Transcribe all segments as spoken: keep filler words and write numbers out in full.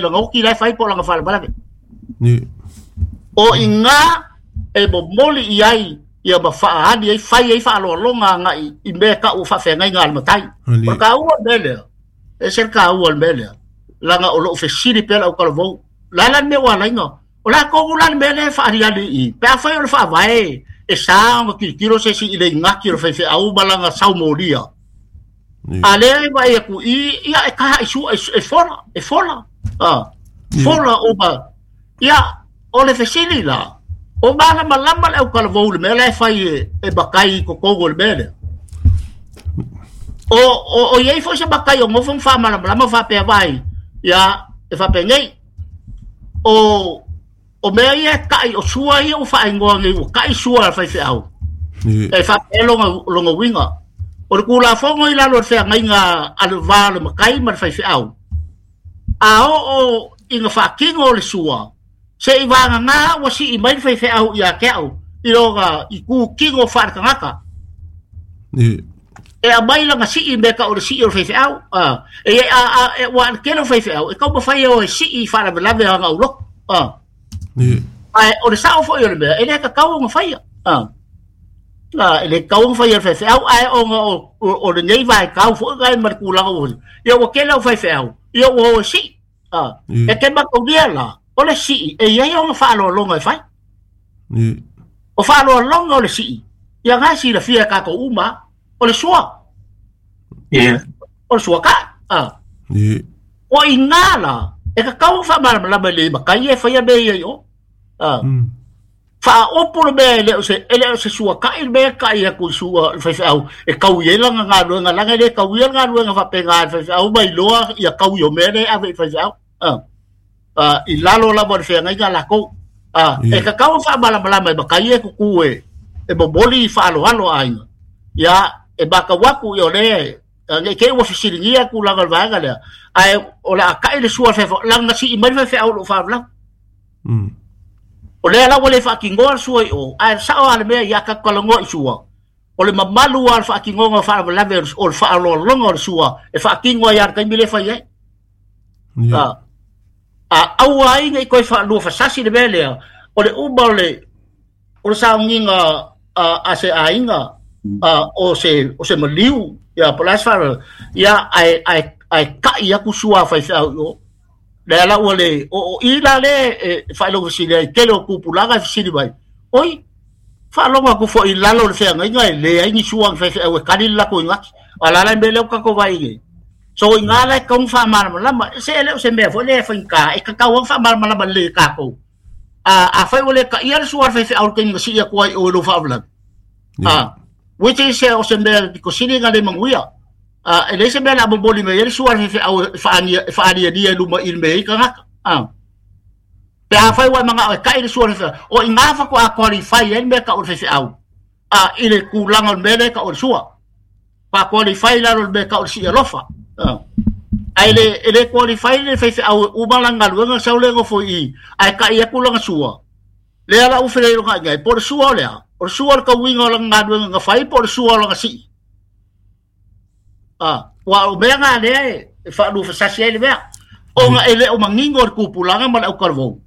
Langa oki lai fai po langa faalavelave. O iga e momoli i ai ia ma faaali ai fai ai faaloaloga agai i mea kau faafeagaiga a le matai. O le kaua le mea lea, e ese le kaua le mea lea, laga o loo fesili pea lau talavou la la le mea ua alaiga o latou la le mea lea e faaliali i pe afai o le faavae e sa ona tilotilo se isi i le igati o le faifeau ma lana saumolia. A lea e vaai atu i ia e taha i sua e fola e fola a fola uma ia o le fesili la o malamalama le autalavou le mea la e fai e, e matai i totonu o le mea lea. O o o iai foi se matai o nofo ma faamalamalama faapea vai ia e faapenei o o mea ia e ta'i o sua ia ua faaigoa nei ua ta'i sua a le faifeau e faapea lona lona uiga o le tulafono i lalo o le feagaiga a le va o le matai ma le faifeau a oo ina faatino o le sua se'i vagagā ua si'i mai le faifeau ia te a'u i loga i kutino faaletagata e aumai lana si'i mea ta'u o le si'i o le faifeau a e a a e ua le tele o faifeau e taumafai e o e si'i faalavelave aga uloto a ae o le sa'o fo'i o le mea e lē tatau ona faia a a e le tatau ona faia e le faifeau ae ona o o lenei vaitau fo'i gae ma le tulaga ua ia ua tele au faifeau ia ua o e si'i a e te mataulia la o le si'i e iai ona faaloaloga e fai o faaloaloga o le si'i ia ga silafia e tatou uma o le sua o le sua ka'i a o iga la e tatau ona faamalamalama i le matai e faia mea ia i o a faaopo le mea e le o se e le o se suata'i le mea e ta'i atu i sua le faifeau e tau ai lana galuega laga e lē tauia le galuega faapena le faifeau ma iloa ia taui o mea lea e ave i faifeau a a i lalo lava o le feagaiga lakou a e tatau ona faamalamalama e matai e tutu e e momoli i faaaloalo aiga ia e matau atu ia o lea nei te i ua fesiligia tulaga o le vaega lea ae o le a ta'i le sua faifeau laga na si'i mai le faifeau o loo faalavelave o lea la ua le faatinoa le sua i o ae sa'o a le mea ia tatou talanoa i sua o le mamalu a le faatinoga o faalavelave o le faaloaloga o le sua e faatino ai a le taimi le fai ai a a aua ai nei toe faalua fasasi le mea lea o le uma o le o le sauniga a, a se aiga a, o se o se maliu ia po o le a se faalavelave ia ae ae ae ta'i atu sua a faifeau i o lea la ua le o o i la le e faailoga fesili ai tele o tupulaga e fesili mai oi faalogo atu foi i lalo o le feagaiga e leai ni sua ni faifeau e kali le latou igati a la la mea lea ua tatou vaai nei so iga la e tatau ona faamalamalama se e le o se mea foi lea e faigata e tatau ona faamalamalama lelei e tatou a afai ua le taia le sua a le faifeau i le taimi na sii atu ai o i lou faalavelave a which is o se mea pito sili na le manuia a e leai se mea o le a momoli mai ai le sua a le faifeau e faania e faaniania i luma i le mea ai tagata a pe afai ua e manao e ta'i le sua a le faifeau o iga faatoa qualify ai le mea ta'u o le faifeau a i le tulaga o le mea lea e ta'u o le sua fa qualify lalo o le mea ta'u o le sii alofa a ae le e le qualify le faifeau uma lana galuega sau le nofo i i ae ta'i atu lana sua lea la ua feleiloga ai po o le sua o lea o le sua o le tauiga o lana galuega na fai po o le sua o lana sii a ua o mea na lea e faalufasasi ai le mea ona e le o manino le tupulaga ma le autalavou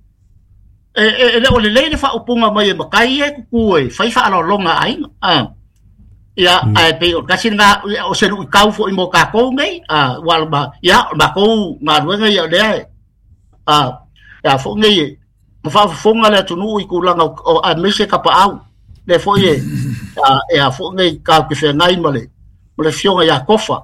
e, e, e le o lelei le faaupuga mai e matai ia e tutu e fai faaloaloga a aiga a ia ae pei o le tasi lena o se luitau foi mo tatou nei a ua ma ia o matou galuega ia o lea e a ia foi nei e ma faafofoga le atunuu i tulaga o aemaise tapaau lea foi e a e a foi nei tatou te feagai ma le ma le afioga ia Tofa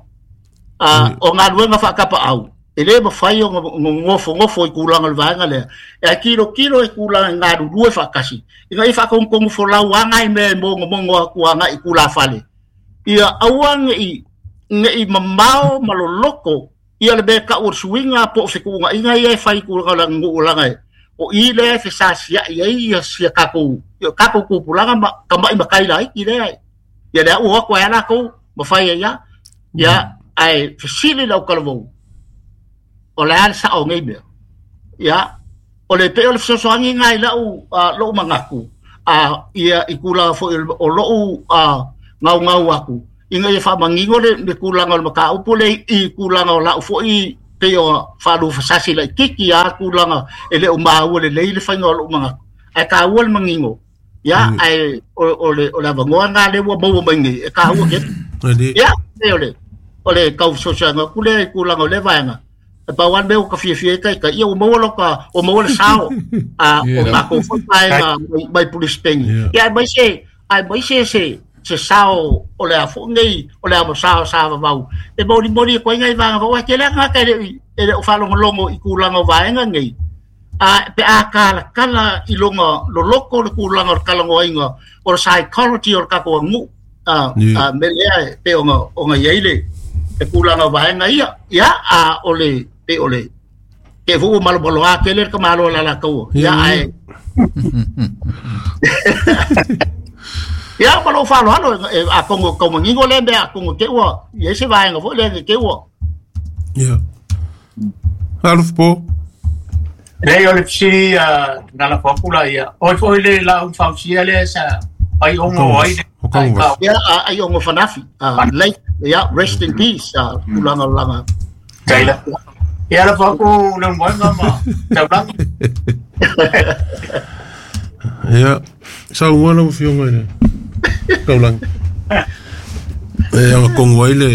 a o galuega faatapaau e lē mafai ona nofonofo i tulaga o le vaega lea e tilotilo i tulaga e galulue faatasi ina ia faatonutonu folau agai mea e mogomogo atu agai i tulafale ia aua ne'i ne'i mamao ma loloto ia le mea ta'u o le suiga po o fetuunaiga ia e fai i tulaga o le aganuu laga e o i lea e fesasia'i ai ia sia tatou ia tatou tupulaga ma tama'i matai laiti lea ia lea ua o atu ai a latou ma fai ai a ia ae fesili le autalavou o le a le sa'o o nei mea ia o le pei o le fesoasoani lena i la'u lo'u manatu a ia i tulaga foi o lo'u gaugau atu ina ia faamanino le, le tulaga o le mataupu le i tulaga o la'u foi pe o whalu fasasi lai kiki a kulanga e le o maua le leile whainga o lo manga ai ka ua le mangingo ia ai o le o le avangoa ngā le ua maua mai nei e ka ua ke ia e o le o le kau sosoanga kule i kulanga o le vaenga e pau an meo ka fiafia e kai ka ia o maua loka o maua le sao a o mako foi vaenga mai police pengi ia mai se ai mai se se se sao o le afo nei o le amo sao sa vau e mori mori ko ngai vanga wa ke le nga ka le e o falongolongo i kulanga vaenga nei a pe a kala kala i longa lo loko le kulanga o kala ngoinga o psychology o ka ko ngu a a me le pe o o ngai ile e kulanga vaenga ia ia a o le pe o le ke fu malo malo a ke le ka malo la la ko ia ai ia malo falo halo a kongo kongo ngingo lembe a kongo ke ua ia se vaenga fo le ke ua ia aluf po le o le si na la popula ia oi foi le la un fausia le sa ai ongo ai ia ai ongo fanafi late ia rest in peace kulanga langa kaila ia la foku le ngwa ma taulanga ia sa ngwana o fionga ile kaulang e anga kongo ai le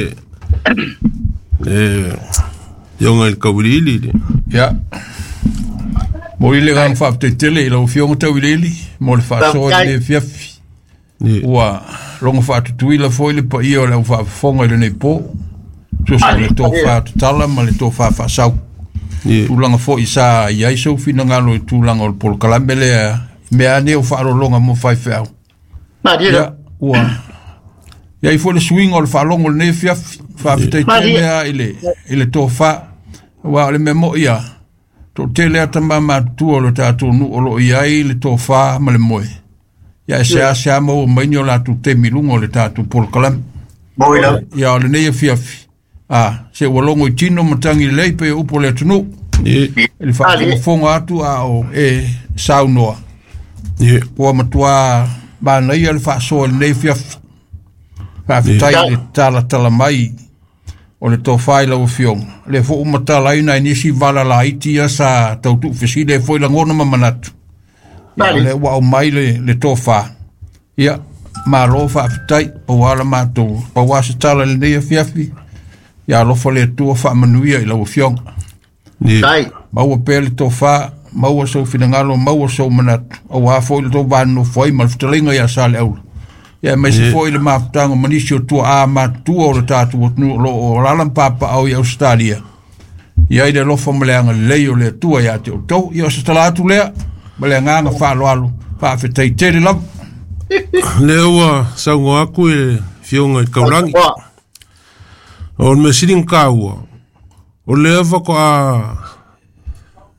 e yonga il kaulili le ia mo ile gang fa te tele lo fionga taulili mo le fa so le fiafi ua longo fa tuila foi le pa ia le fa fonga le nei po so sa le to fa tala ma le to fa fa sau tulanga foi sa ia iso fina ngalo tulanga o pol kalambele me ane o fa longa mo fa fa Maria ua ia i foi le swing o le faalongo lenei fiafi faafetai mea i le i le tofa ua o le mea mo'i ia to'atele a tamā matutua o le tatou nu'u o lo'o i ai le tofā ma le moe ia e seasea maua maini o latou temi luga o le tatou polokalame ia o lenei afiafi a se ua logo i tino ma tagi lelei pe upu o le atunuu i le faafogafoga atu a o e saunoa ua matuā manaia le faasoa i lenei fiafi faafetai i le talatala mai o le tofā i lau afioga le fo'u matalaina i nisi vala laiti ia sa tautu'ufesili ai foi lagona ma manatu ia le ua aumai le, le tofā ia malo faafetai pauā la matou pauā se tala i lenei afiafi ia alofa le Atua faamanuia i lau afioga maua pea le tofā maua sou finagalo maua sou manatu auā foi le tou vanonofo ai ma le fetalaiga iā sa le aula ia aemaise foi le mafutaga ma nisi o tuaā matutua o le tatou atunuu o loo o lala ma papaao i Ausetalia ia i le alofa ma le agalelei o le Atua iā te outou ia o se tala atu lea ma le agaga faaaloalo faafetai tele lava lea ua saugoa aku i le fioga i le kaulagi o le mea sili na kāua o lea faatoa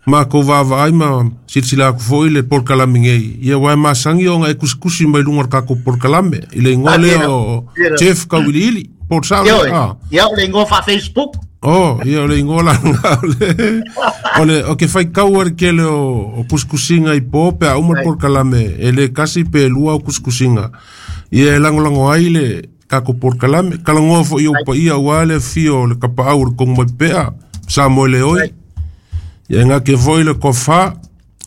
makou vaavaai ma silasila aku foi le polokalame nei ia ua e masagi ona e kusikusi mai luga o le tatou polokalame i le igoa lea o Jeff Kauiliili po o le sao lea ia o le igoa faa-Facebook oh ia o le igoa laga o le o le o ke faitau a le kele o o kusikusiga i po pe a uma le polokalame e lē kasi pe lua o kusikusiga ia e lagolago ai le tatou polokalame kalagoa foi ou paia auā le afio o le kapaau o le kogo mai pea sa moe le oi ia nga ke foi le kofa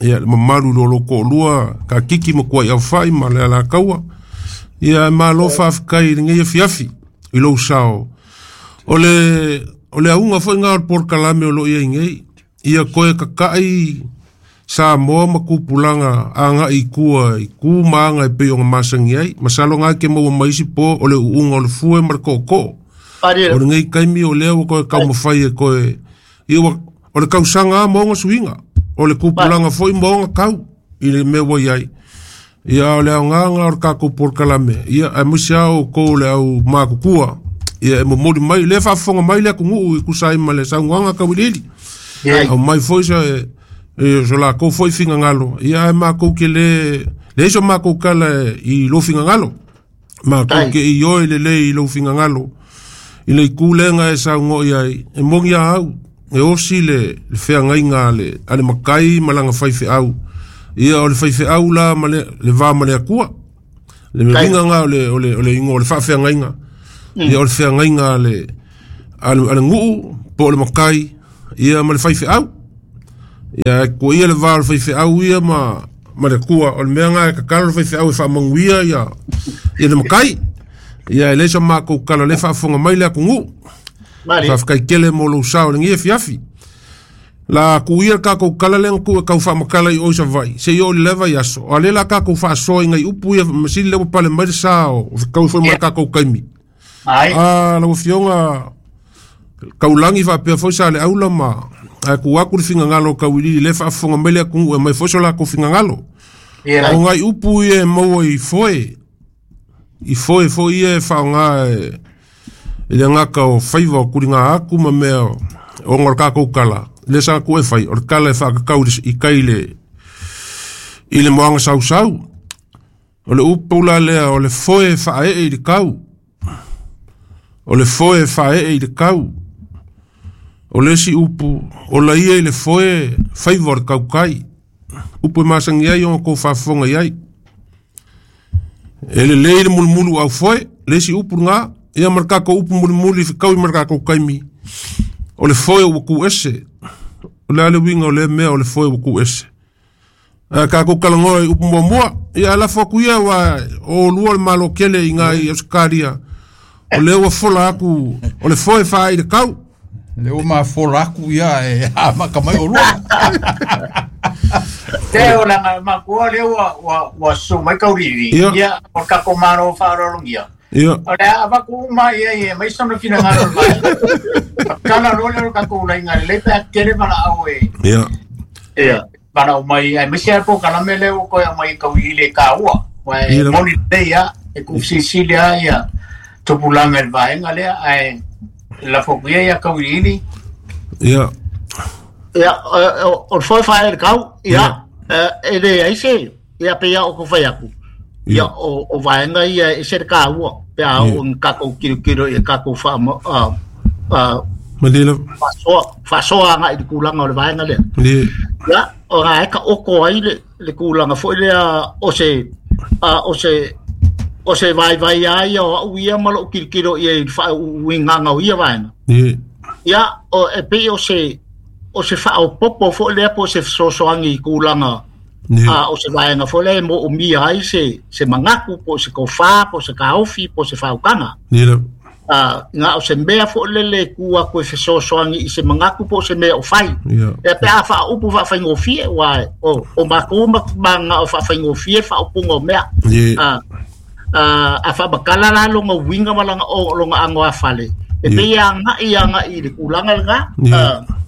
ia le mamalu lo lo ko'olua kakiki ma kua'i aufa'i ma le alakaua ia malo faafekai i lenei afiafi i lou sao o le o le auga foi gā o le polokalame o loo iai nei ia koe kaka'i Samoa ma kupulaga aga'i i kua i ku ma aga e pei ona masagi ai masalo ga ke maua mai isi po o le uuga o le fue ma le ko'oko'o o lenei kaimi o lea ua koe kaumafai e koe ia ua o le kausaga a ma ona suiga o le kupulaga foi ma ona kau i le mea ua iai ia o le aogaga o le tatou polokalame ia aemaise a outou le au makukua ia e momoli mai lea faafofoga mai le atunuu i tusa ai ma le saunoaga tauiliili aumai foi se e so lakou foi figagalo ia ae makou ke lē leai so makou kala i lou figagalo makou ke i oe lelei i lou figagalo i le itū lega e saugo'i ai e mogi a au e osi le le feagaiga a le a le makai ma laga faifeau ia o le faifeau la ma le le va ma le Atua le mea ga o le o le o le igoa o le faafeagaiga ia o le feagaiga a le a le a le nu'u po o le makai Ia ma le faifeau. Ia ko ia le va o le faifeau ia ma ma le kua o le mea nga e kakalo le faifeau e faamanuia ia ia le makai. Ia e le sa makou kala le faafofoga mai le atunuu. Faafetai tele mo lou sao i lenei afiafi. La kuia ka ko kala le ku ka fa makala i o sa vai se yo le leva ya so ale la ka ko fa so ngai upu ya masili le pale mai sa o ka fo mai ka ko kaimi ai a la fionga kaulangi fa pe fo sa le aula ma a ku aku finga ngalo ka wili le fa fonga mele ku e mai fo so la ko finga ngalo o ngai upu ye mo i foe i foe fo ye fa nga ile ngaka o faiva o kuringa aku ma mea o ngol ka ko kala le sa ku e fai o kala e fa ka i kai le i le moanga sau sau o le upu la lea o le foe fa e i le kau o le foe fa e i le kau o le si upu o la ia i le foe faiva o le kaukai upu e masangi ai o ko faafofoga i ai e lelei le mulumulu au foe le si upu ngā ia ma le kākou upu mulimuli fekau i ma le kākou kaimi o le foe ua ku ese o le ale uiga o lea mea o le foe ua ku ese a kākou kalagoa i upu muamua ia alafo aku ia ua o lua le malo kele i ngā i Australia o lea ua fola aku o le foe faa i le kau le ua mafola aku ia e amaka mai o lua te o langa makua le ua ua ua su mai kauriri ia o kākou malo faaaloalogia ia o le avaku uma ia ia mai sona finagalo mai kala lo le kākou lainga le pe tele mana au e ia ia mana mai ai misia po kala mele o ko mai kau i le kaua wa moni le ia e ku Sicilia ia tupulanga el vaenga le ai la fokuia ia kau i ia ia o foi fa el kau ia e le ai se ia pe ia o ko fai aku ia o o vaenga ia e se kaua pe a o kākou kirokiro ia kākou fa a a Malila fasoa fasoa nga i le kulaga o le vaega lea ia o ga e ka oko ai le le kulaga foʻi lea o se a o se o se vaivai ai o a'u ia ma lo'u kilokilo ia i le faauigaga o ia vaega ia o e pei o se o se faaopopo foʻi lea po o se fesoasoagi i kulaga a o se vaega foʻi lea e moomia ai se se magaku po o se kofā po o se kaofi po o se faaukaga a nga o se mea foʻi lele ku aku e fesoasoagi i se magaku po o se mea o fai e pe a faaupu faafaigofie ua o o makou ma nga o faafaigofie faaupuga o mea a a faamakala la loga uiga ma laga o loga ago a fale e pei e agaʻi agaʻi i le kulaga lena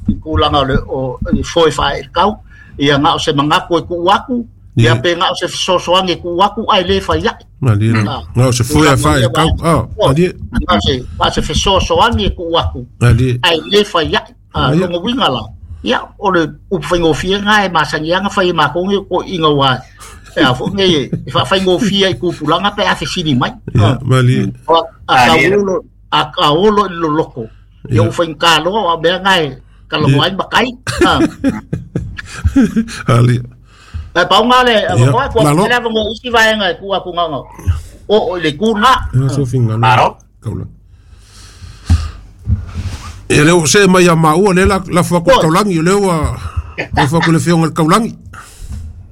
i kulaga o le o foe faae i le kau ia nga o se magaku e kuʻu aku ia pe nga o se fesoasoagi e kuʻu aku ae lē fai aʻe Malie nga o se foe a faae i le kau malie nga se nga se fesoasoagi e kuʻu aku ae lē fai aʻe loga uiga la ia o le upu faigofie ga e masagiaga fai e makou ge koʻiga ua e a foʻi nei e faafaigofie i kupulaga pe a fesili mai malie a kaolo a kaolo i loloko ia ua faigakaloa o a mea ga e kalago ai makai ali e paunga le ko ko le va ngo isi vaenga ku aku nga o o le ku na so finga kaula e le o se mai ma o le la la fa ko kaulangi le o la fa ko le fionga kaulangi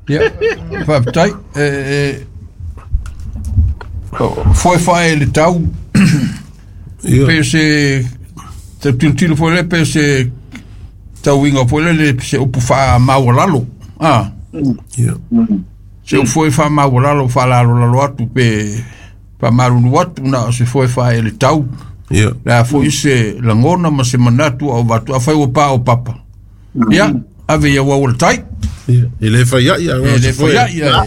ia faafetai e e foe fae le tau pe se te tilotilo foi le pe se tauiga foi le se upu faamaualalo a se upu foi faamaualalo faalalolalo atu pe faamalulu atu na o se foe fae le tau le a foʻi se lagona ma se manatu au vatu afai ua pā o papa ia ave ia ua o le tai e le fai ai e le fai ai ia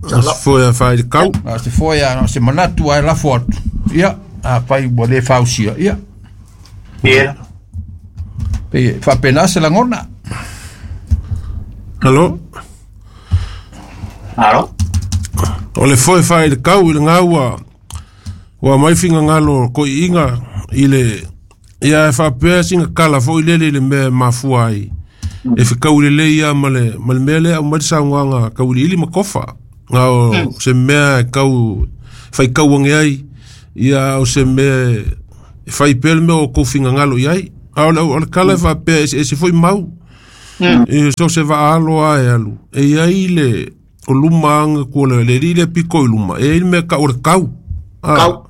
se foe fae le kau a se foe a se manatu ae lafo atu ia afai ua lē fausia ia ia pe faapena se lagona alo alo o le foe fae le kau i le gaua ua mai figagalo koʻiʻiga i le ia e faapea siga kala foʻi lele i le mea e mafua ai e fekau lelei ia ma le ma le mea lea aumai le saunoaga kauiliili ma kofa ga o se mea e kau faikau age ai ia o se mea e fai pea le mea o kou figagalo i ai A o le o le kala e faapea eseese foi mau. E so se vaalo a e alu. E iai le o luma anga kua le le li le piko i luma. E iai le mea ka o le kau. Ah, Kau.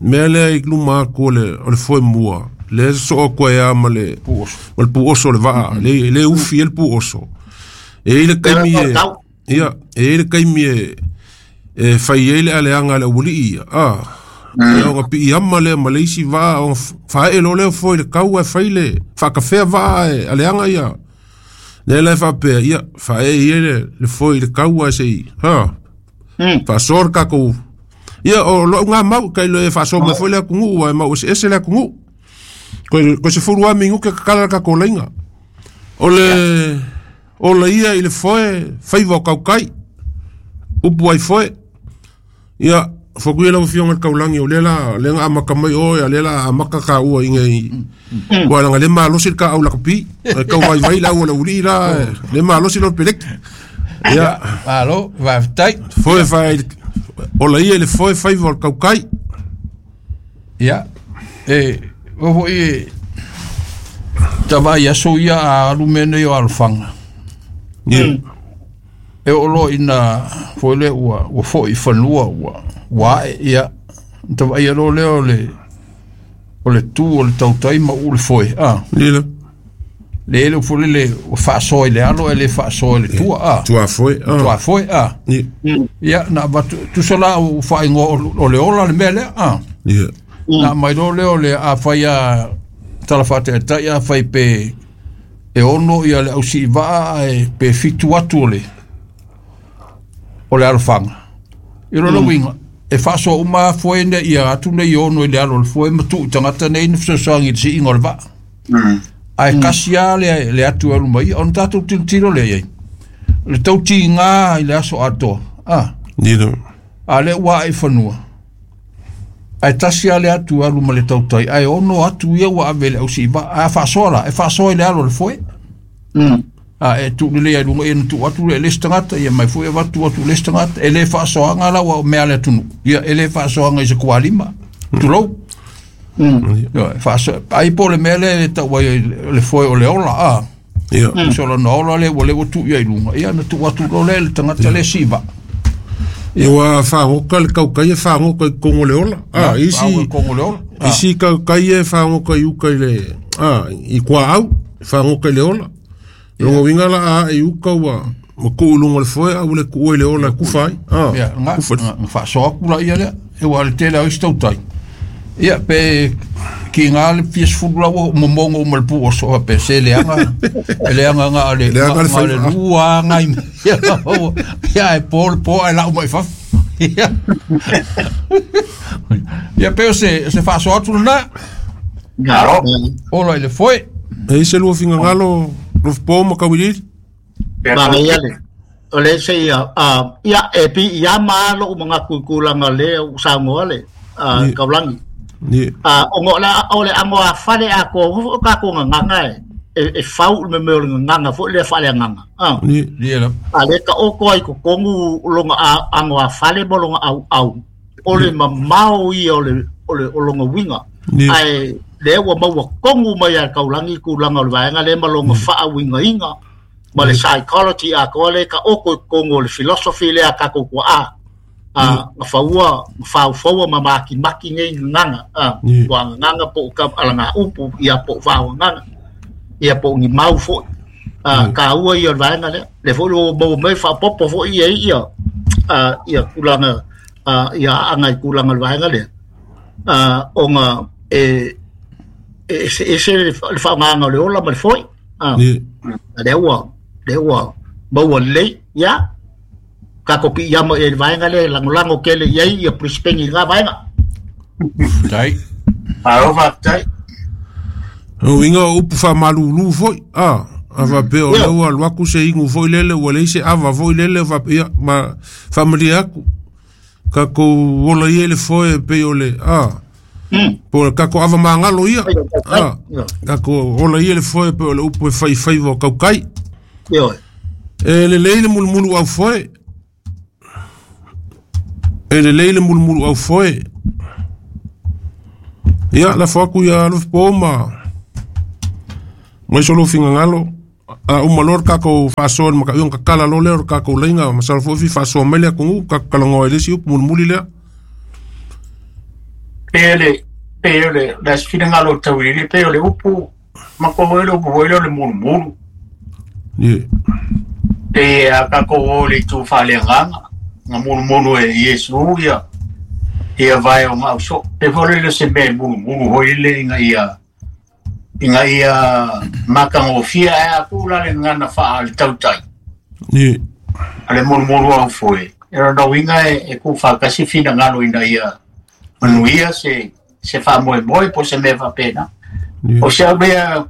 Mea lea i luma aku o le o le foe mua. Le so ko e ama le Puoso. o le puoso le vaa. Le le ufi e le puoso. E iai le kaimi e Kau. ia e iai le kaimi e e fai ai le aleaga le aualii ia. Ah. E o pi ama le ma le isi vaa o fae lo le foi le kau e fai le whakawhea vaa e aleaga ia. Le le whapea ia fae ia le le foi le kau e sei. Ha. Mm. Whaasor kakou. Ia o lo ngā mau kai le whaasor me foi le akungu e mau ese ese le akungu. Koe koe se furu a mingu ke kakala ka kolenga. O le o le ia i le foe faiva o kaukai. Upu ai foe. Ia foku ia lau fionga le kaulangi o lela lenga amaka mai o ia lela amaka ka ua inga i. Wa langa le malosi le ka au lakapi. E kau vai vai la ua le uli la le malosi lo pelek. Ia Alo, faafetai. foe fai o le ia i le foe faiva o le kaukai. Ia, e o foi e tavai aso ia a alu mea nei o alofaga. Ia. E oo loa ina foi lea ua ua fo'i i fanua ua ua ae ia tavaia loa lea o le o le tu o le tautai ma uu le foe a Ia. le ele foi lele ua faasoa i le alo e le faasoa i le tua a Tua foe. tua Ah. foe a Ia. ia na avatu tusa la ua faaigoa o o le ola le mea lea a Ia. na mai loa lea o le afai a tala faataitai afai pe e ono ia le ausiivaa ae pe fitu atu o le o le alofaga i lona uiga e faasoa uma foe ne ia atu nei ono i le alo o le foe ma tuu i tagata nei na fesoasoagi i le siiga o le vaa ae kasi a le le atu e alu mai ia ona tatou tilotilo lea iai le tautigā i le aso atoa a Ia. a lea ua ae i fanua ae tasi a le atu e alu ma le tautai ae ono atu ia ua ave i le ausiivaa a faasoa la e faasoa i le alo o le foe Mm. a e tuu lelei ai luga ia na tuu atu le le isi tagata ia mai foi avatu atu le isi tagata e lē faasoaga la ua mea le atunuu ia e lē faasoaga i se kualima tulou Mm. Ia, e faasoa ai po o le mea lea e tau ai le foe o le ola a Ia. so lona ola lea ua le ua tuu ia i luga ia na tuu atu loa lea i le tagata lea siivaa Ia ua whangoka le kaukai e whangoka i kongo le ola. Ah, isi kongo le ola isi kaukai e whangoka i uka i le ah, i kua au, whangoka i le ola. Longa winga la a i uka ua ma kuu lunga le foe a ule kuua i le ola e kufa ai. Ah, ia nga kufa. nga faasoa aku la ia lea e ua le tele au isi tautai ia pe ki ngā le fia sefulu la ua momogo uma le puoso pe se leaga e leaga nga le Leaga le nga le faiva. lua agai ia ia e po le po ae lau mai fafo ia ia pe o se se faasoa atu lenā Alo. ola i le foe E ise lua fingangalo lo po ma kawilili. Ma ia le. O le se ia a ia e pi ia ma lo mga kukulanga le u sangoa le a Ni. kaulangi. Ni. A o ngo la o le ango a fale a ko o ka ko nganga e e fau me me o nganga fo le fale nganga. Ah. Ni. ia la A le ka o ko ai ko kongu longa a ango a fale mo longa au au. O le mamao ia o le o le o longa winga. Ni. Ai le ua maua kongu mai a kaulangi kulanga o le vaega le ma longa faauigaina ma le psychology a koa le ka oko i kongu o le philosophy lea a kakou kua a a gafaua gafaufaua ma makimaki nei gagaga a Ni. ua gagaga po o ka alaga upu ia po o faogagaga ia po o ni mau fo'i a kāua ia o le vaega lea le fo'i ua maua mai faapopo fo'i ia ia a ia tulaga a ia aaga i tulaga o le vaega lea a ona e e ese ese le fa- le faaaogaga o le ola ma le fo'i a Ni. a lea ua lea ua maua lelei ia kakou piiama i le vaega lea e lagolago kele i ai ia Brisbane i lena vaega tai Alo, faafetai. O inga o upu whamalulu foi. Ah. A whapea o Ia. lea ua alu aku se ingu foi lele ua leai se ava foi lele whapea ma whamalia aku. Kakou ola ia le foe e pei o le ah. Mm. Po o kako ava mangalo ia. Ah. Ia. Kako ola ia le foe pe o le upu e whai whaiva o kaukai. Ioe. E le lei le mulumulu au foe. E le lei le mulumulu au foe. Ia, la foaku ia alof po ma. Mai so lo fingangalo a uma lor ka ko faasoa ma ka iong ka kala lo leo ka ko leinga masalo fo fi faasoa mai le atunuu ka kalagoa i le isi upu mulimuli lea. Pe le pe le la finangalo tauili pe le upu ma ko le upu le le mulumulu. Ie. Pe a ka ko le tu faleagaga nga mulumulu e Iesu ia ia vai o mau so pe fole le se me mulumulu hoi le inga ia inga ia makangofia e aku la le ngana fa le tautai. Ie. Ale mulumulu au foi. Era no inga e, e ku fa kasi finangalo ina ia manuia se se fa moe moe po se me fa pena. Ie. O se mea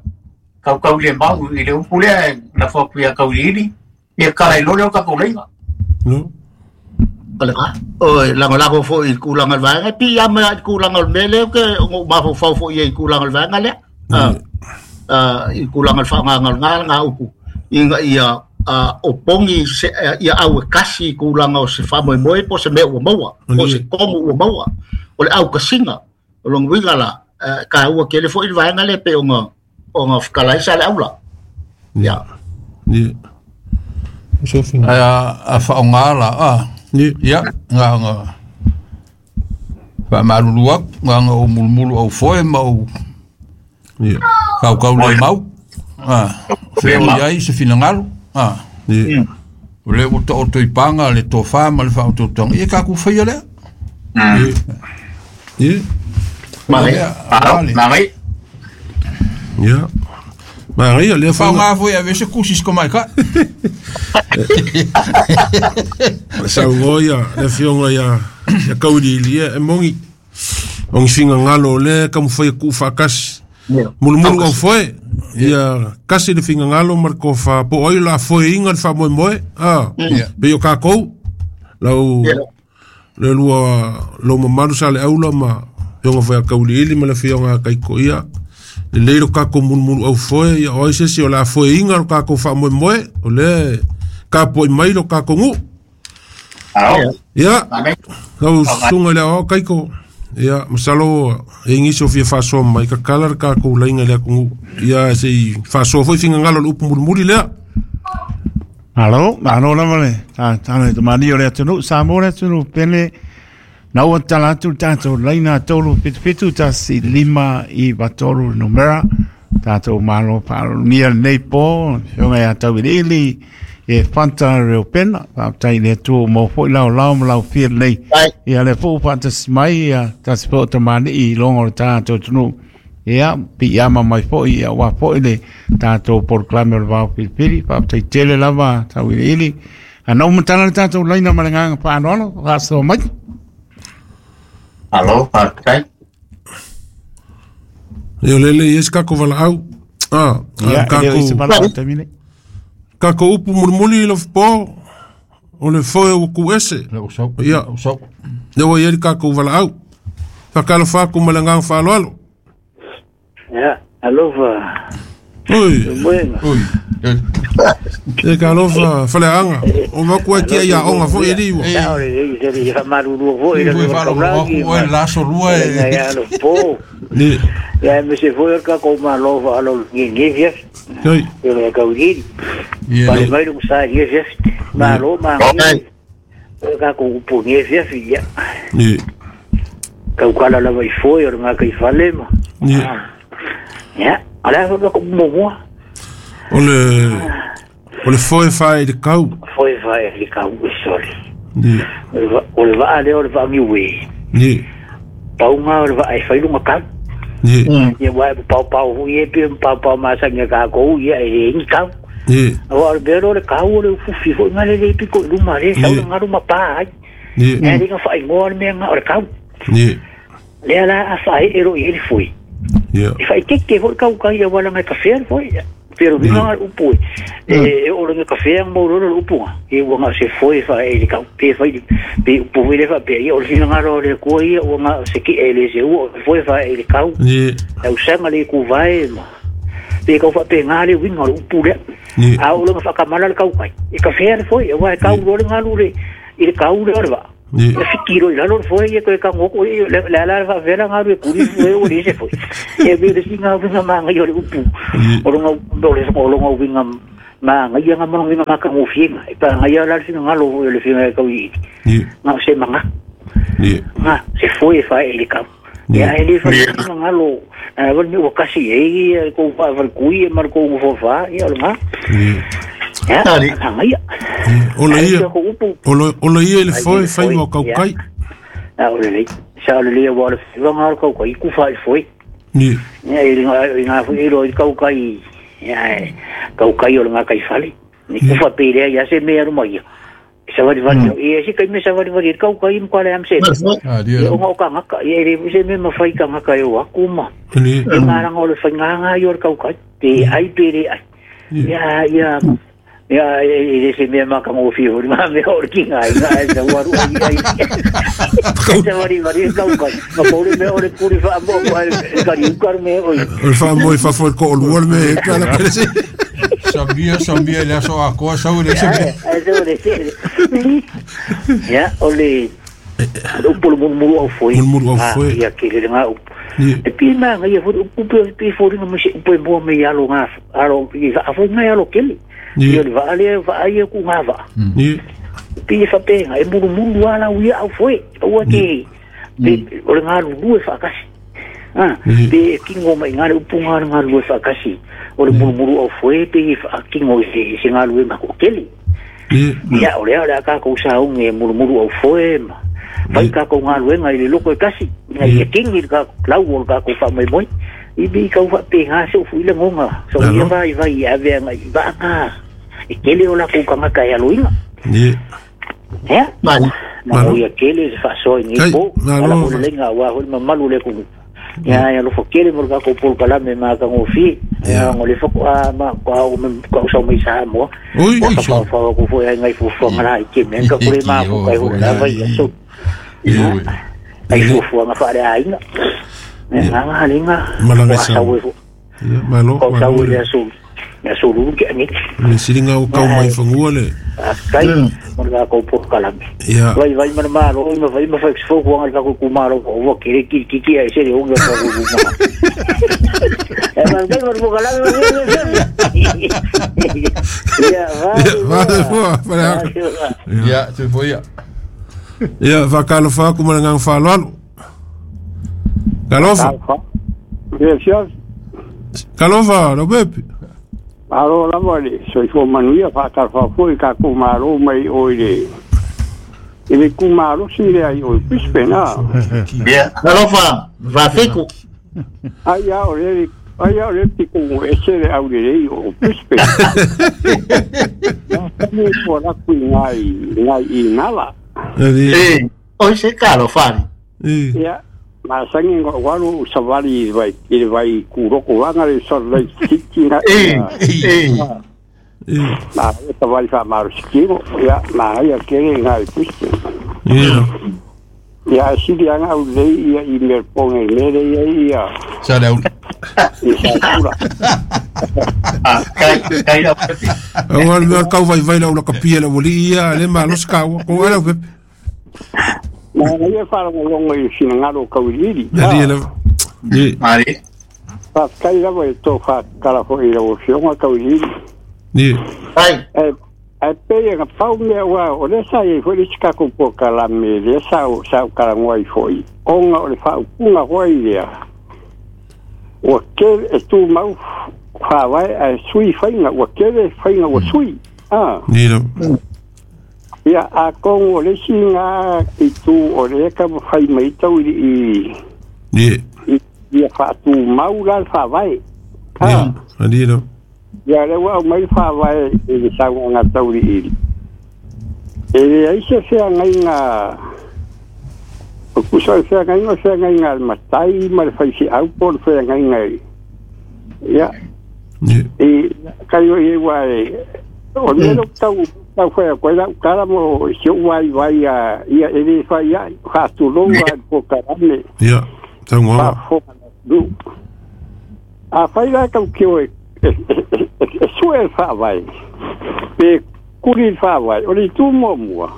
kau kau le mau i le upu lea na fo kuia kau ili ia kala i lole o ka kolenga. No. O le ka o lagolago foʻi i le kulaga o le vaega e piiama i le kulaga o le mea lea ke oga ou mafaufau foʻi ai i kulaga o le vaega lea a i kulaga o le faaaogaga o lena lena upu ina ia o pogi se ia au e kasi i kulaga o se faamoemoe po o se mea ua maua po o se komu ua maua o le aukasiga o lona uiga la taua tele foʻi le vaega lea pe ona ona fekalaisa le aula. Ia. Ie. So finga. Ai a a faaaoga la a. Ie. Ia nga nga faamalulu aku nga nga o mulumulu au foe ma ou Ie. kaukau le mau a fea o iai se finagalo a. Ie. O le ua taoto i paga le tofā ma le faaototoga ia kakou faia lea. Ie. Ie. Mare. Lea aua le Mangai. Ia. Maraia lea foi faaaoga foi ave se kusi se komaikai. Saugoa ia le afioga ia ia Kauiliili ia e mogi o figagalo o lea taumafai e tuufaatasi mulumulu au foe ia kasi le figagalo ma le tofa po o ai o le a foeina le faamoemoe a pei o kakou lau le lua lou mamalu sa le aula ma afioga foi a Kauiliili ma le afioga a Kaiko ia lelei lo kakou mulumulu au foe ia o ai se isi o le a foeina lo kakou faamoemoe o lea kapoai mai lo kakou nuu. Alo. Ia Mangai. lau susuga i le aoao Kaiko ia masalo e igisi o fia faasoa mai kakala le kakou laiga i le atunuu ia sei faasoa foi figagalo o le upu mulimuli lea. Alo, malo lava le tatalo i tamani o le atunuu, Samoa le atunuu pele, na ua tala atu le tatou laina tolu fitu fitu tasi lima i vatolu numera, tatou malo faalologia lenei po, afioga ia Tauiliili, e Fanta Reupena, faafetai i le Atua ua maua foi laolao ma laufia lelei. Ia le foi ua faatasi mai ia tasi foi o tamalii i loga o le tatou atunuu. Ia, piiama mai foi ia aua foi le tatou polokalame o le vao filifili, faafetai tele lava Tauiliili. Ana ua matala le tatou laina ma le agaga faaaloalo, faasoa mai. Alo, faafetai. Ia o lele i ai se kakou valaau a Ia, e le o i se kakou valaau i le taimi nei. kakou upu mulimuli i lofopo o le foe ua ku ese. Le usau. Ia. Usau. Lea ua i ai le kakou valaau. Faatalofa atu ma le agaga faaaloalo. Ia, alofa. Oi. Moega. Oi. E ka alofa faleaga o maku ai tia ia aoga foi e liua. Ia, o le lei se le faamalulua foi le Foi faalogo aku oe le aso lua e e. ia alo po. Ie. Ia me se foi o le kakou malo faalologia i lenei afiafi. Oi. E le Kauiliili. Ia. Pale mai le sa i lenei afiafi. Malo magia. O le kakou upu i lenei afiafi ia. Ie. Kaukala lava i foe o le gakaifale ma. Ie. Ia, o le a foi le kakou muamua. O le o le foe fae i le kau. Foe fae i le kau e sole. Ie. O le va- O le vaa lea o le vaa niue. Ie. Pauga o le vaa e fai luga kau. Ie. Ia wae paopao hui e pe paopao masani a kākou ia e le ingi kau. Ie. Aua o le mea lea o le kau o le ufufi foi nga le le piko i luma le sau le galu ma pā ai. Ie. Ea le nga whaingoa le mea nga o le kau. Ie. Lea la a whae e ro i ele foi. Ie. E whaiteke foi kau kai ia wala ngai kawhea le foi. Pero vinga nga upu e. E o le kawhea mo roro le upu nga. E ua nga se foi whae e le kau. Pe whai pe upu foi le wha pe ia o le vinga nga ro le kua ia ua nga se ki e le se ua o le foi whae e le kau. Ie. Au sanga le ku vae ma. Pe kau wha pe ngā le winga o le upu lea. Ie. A o le nga whakamala le kau kai. E kawhea le foi. E wā e kau ro le ngalu le i le kau le o le wa. E fitiro i lalo foe ia koe ka ngoko i la la fa vera ngaru e kuri foe o le se foe. E be le singa winga manga i o le upu. O longa o le o longa winga manga ia nga manga winga maka ngofienga. E pa nga ia la singa ngalo le finga e kau i. Nga se manga. Nga se foe fa e le kau. Ia e le fa singa ngalo. A wal mi o kasi e ia ko fa fa kui e mar ko fo fa ia o nga. Ya, nga ia. O le ia. O le o le ia le foe fai mo kau kai. A o le sa le le wa le wa nga kau kai ku fa foe. Ni. Ia i nga i nga fu i ro i kau kai. Ia kau kai o nga kai fale. Ni ku fa pe le ia se me aru mai. Sa wari wari ia si kai me sa wari wari kau kai mo kale am se. Ah dia. O nga ka ngaka ia le se me ma fai ka ngaka e o akuma. Ni. E maranga o le fai nga i o kau kai. Te ai pe le ai. Ia ia ia e se me ma ka mo fi o ma me o ki ngai ngai sa waru ai ai. Sa wari wari kau kai. Ma ko le me o le kuri fa mo ko ka ri ka me o. O fa mo fa fo ko o me ka la pese. Sabia sabia le so a ko sa o le se. Ai se le se. Ya o le o polo mulu au foi. Mulu au foi. Ia ke le nga e pi ma ngai fo u pe pi fo ri mo se pe mo me ya lo nga aro i a fo ngai alo kele. Ia le va ale va ai ku nga va. Ni. Pi fa pe e mulu mulu ala u ia au foi. O ke pe o le nga lu e fa kasi. Ah, pe kingo mai nga le upu nga nga lu e fa kasi. O le mulu mulu au foi pe fa kingo se se nga lu e ma ko kele. Ia o le ala ka ko sa unge mulu mulu au foi ma. Vai ka ko nga lu ngai le loko e kasi. Ngai e kingi ka lau o ka ko fa mai moi. I bi ka fa pe nga se fu ile ngonga. So ia vai vai a ve ngai ba nga. E kele o la ku ka nga ya luinga. Ni. Ya? Manu. Ma ia kele fa so ni po. Ala ko lenga wa ho ma malu le ku. Ya ya lo fo kele mo ka ko pol kala me ma ka ngofi. Ya ngo le fo a ma ko me ko so mai sa mo. Oi, oi so fa ko fo ya ngai fu fo ngala i ke me ka ko le ma ko kai ho la vai so. Ai fu fu nga fa le ai. Nga nga lenga. Malanga sa. Ya malo. Ko sa o le so. Ya so lu ke ni. Le siringa o kau mai fangua le. Kai mo ka ko po kala. Ya. Vai vai ma ma ro ma vai ma fa fo ko nga ko ku ma ro ko ke ki ki ki ai se le onga ko ku ma. E ma kai mo kala Ya va. Va va. Ya, se foi ya. Ya, va kalo fa ku ma ngang fa lo. Kalofa. Yes. Kalofa, lo bepi. Alo lava le soifua manuia faatalofa foi ka kou malo mai oi le i le kumalosi lea i oi Brisbane a. Ia, alofa, vafeku. Ai a o le ai a o le tikugu ese le aulelei o Brisbane. Ia po la kui ngai ngai i ngala. E, oi se kalo fari. Ia, ma sangi ngo walu savali i vai i vai kuroko wanga le Salt Lake City na. E, e. Ma savali fa marusikiro ia ma ia kere ngai Brisbane. Ia. Ia sili anga au lei ia i Melbourne mele ia ia. Sa le au. I sa kura. Ah, kai kai la pepe. Au al mea kau vai vai la ula kapia la wali ia le malos kau ko ala pepe. Ma ia faalogologo i finagalo kauiliili. Ali la. Ni. Mari. Faafetai lava i to faakala foʻi lau afioga kauiliili. Ni. Ai. E ae pei e pau mea ua o lea sa iai foʻi le isi kakou pokalame lea sa sa ukalagoa ai foʻi ona o le faaupuga foʻi lea ua kele e tumau faavae ae sui faiga ua kele faiga ua sui a Ni la. Ia a kongo o le isi gā i tū o le ka fai mai tau i i Ni. Ia faatumau la le faavae. Ni. Ali la. Ia le ua aumai le faavae i le sauaga tauliili. E leai se feagaiga o pusa o le feagaiga o le feagaiga a le matai ma le faifeau po o le feagaiga i. Ia i kai o i ua e o le mea lea ou tau tau fai atu ai lau tala mo si ou vaivai a ia e lē fai ai faatulou a le pokalame. Ia, taugoaga. Faafofoga le atunuu. Afai la taukeo e e sue le faavae pe kuli le faavae o le itu muamua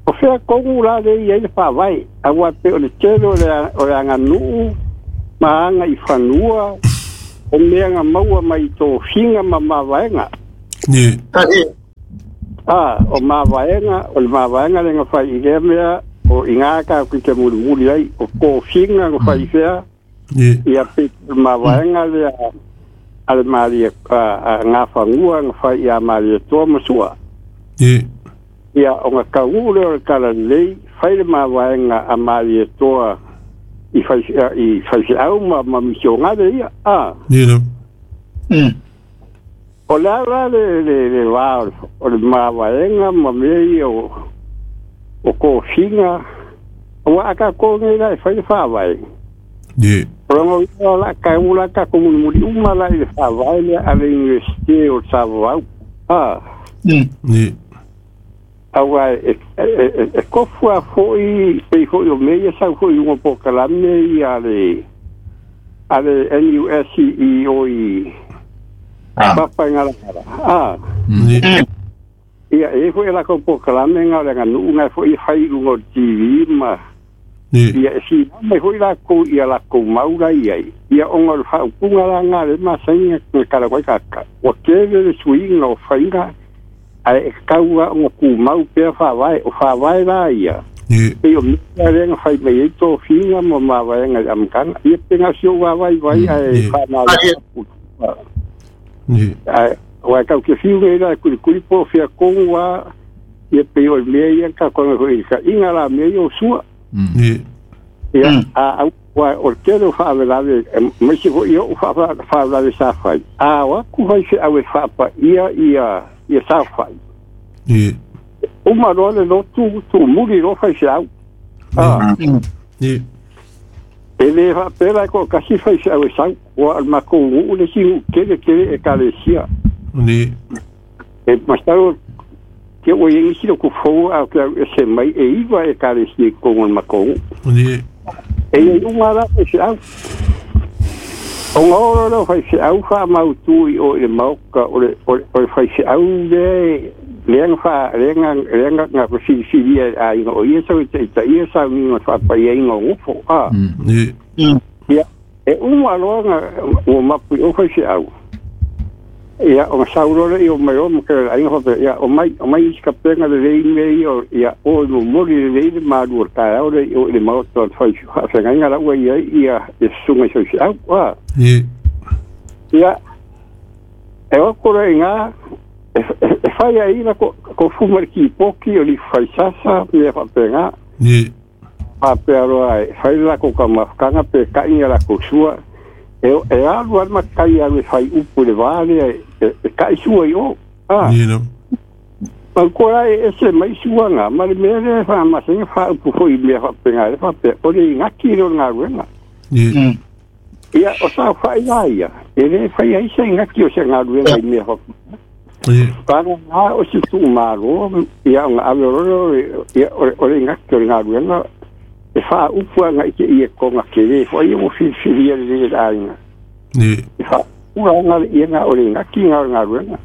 O fea kongu la le ia i le faavae aua pe o le tele o le o le aganuu ma aga i fanua o mea nga maua mai tofiga ma mavaega. Ie. A o mavaega o le mavaega le ga fai i lea mea o i ngā ka ki te mulimuli ai o kofiga ga fai fea. Ie. Ia pe mavaega le a le malie a ngā fangua ga fai ia malie toa masua. Ie. Ia o ngā kauu le o le kala lei fai le mavaega a malie toa i fai i fai au ma ma misionga le ia a. Ie la. Mm. O la la le le le va o le mavaega ma mea ia o o kofiga o aka ko ngai la e fai le faavae. Ie. O ngo la ka u la ka ko mulimuli uma la i le faavae le a le universite o Savau. A. Mm. Ie. Aua e e e kofua foi pe foi o mea sa foi uma pokalame ia le a le N U S E O i papa ngala. A. Ie. Ia e foi la ko pokalame ngala nga nu nga foi fai lungo T V ma. Ie. Ia e si mai foi la ko ia la ko maura ia ia ongo le fa upunga la nga le masainga kala koi kaka. O kele le suinga o fainga ai e kaua o ku mau pea faavae o faavae la ia. Ie. Pe o mea lenga fai mai e tō whinga ma mavaenga i amkanga. Ia penga si o wawai vai ai Ie. whanau. Ie. Ai wa kau ke whiu ngai la kuri kuri po whia kongu wa ia pe o mea ia ka konga hoi ka inga la mea ia o sua. Ie. Ia a au wa o tele o whaawelave mai se hoi o whaawelave sa whai. A wa ku whai se awe whaapa ia ia ia sa whai. Ie. Uma roa le lotu tu muri ro whai se au. Ah. Ie. E le whaapela ko kasi whai se au e sau. Wa al mako ngu le si kele kele e kalesia. Ie. E masaro ke o yengi silo ku fou au ke au e se mai e iwa e kalesia kongo mako ngu. Ie. E ia unga la whai se au. O ngā oro whai se au wha mautui o le maoka o le o le whai se au le leanga wha leanga leanga ngā kusirisiria a inga o ia sau i te ita ia sau ni ngā whapai ia inga o ngufo. A. Ie. Ia e uma loa ngā o mapu o whai se au. Ia o ngā saurore i o mai o maka a inga whape ia o mai o mai isi kapenga le rei mei o ia o i mori le rei le maru o tae au le o le maoto o whai whawengainga la ua ia ia e sunga i se au. A. Ie. Ia e o kore i ngā e e whai a ila ko ko fumar ki poki o li whai sasa mea whapenga. Ie. Whapea roa e whai la ko ka mafkanga pe kainga la ko sua. E e alu alma kai alu e whai upu le vale e e kai sua i o. A. Ie la. Ma kora e ese mai sua ngā ma le mea le wha masenga wha upu foi mea whapenga le whapea o le ngaki le o ngā ruenga. Ie. Ia o sa whai la ia. E le whai ai se ngaki o se ngā ruenga i mea whapenga. Ie. Pana ngā o si tū māro, ia o ngā awe roro, ia o le ngaki o le ngā ruenga, e wha upua ngā ike ia ko ngā kere, wha ia mo whiriwhiri ia le le ainga. Ie. E wha ura ngā ia ngā o le ngaki ngā o ngā ruenga.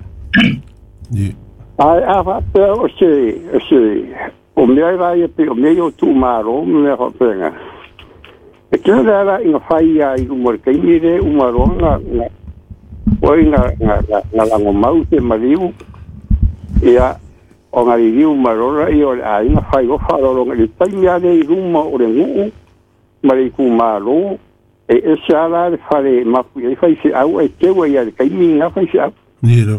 Ie. Ai a whapea o se, o se, o mea rā ia pe, o mea o tū māro, mea whapenga. E kera rā rā i ngā whai ia i umore kaimire, umaroa ngā, ngā, oi ngā, ngā, ngā, ngā lango mau te mariu, ia, o ngā ririu marora i o le ainga whai o wharoro ngā le taimi ale i ruma o le nguu, ma le iku māro, e ese ala le whare mapu i whai se au, e teua ia le kaimi ngā whai se au. Ie la.